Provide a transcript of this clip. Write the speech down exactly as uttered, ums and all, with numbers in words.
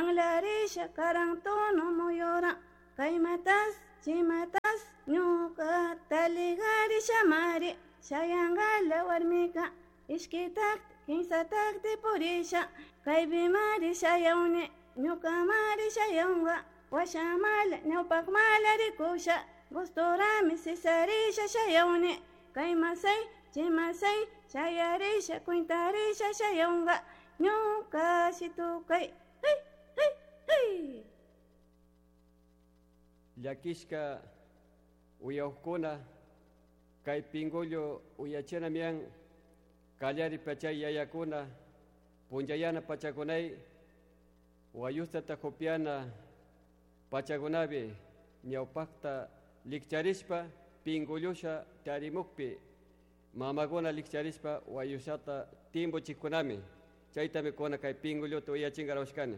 Anlarisha karantono muyura kaymatas chimatas ñuka taligarisha mari shayangala warmika ishkitakti kimsatakti purisha kaypimari shayawni ñukamari shayawnka washamala ñawpakmala rikusha gustorami sisarisha shayawni kaymasay chimasay shayarisha kwintarisha shayawnka ñuka shitukay hey hey hey. Llakishka uyawkuna kay pingullo uyachinamian kallari pachay yayakuna punllayana pachakunay wayustata hupiana pachakunapi ñawpakta likcharishpa pingullusha tarimukpi mamakuna likcharishpa wayushata timbuchikkunami chaytami kuna kay pingulluta uyachinkarawashkani.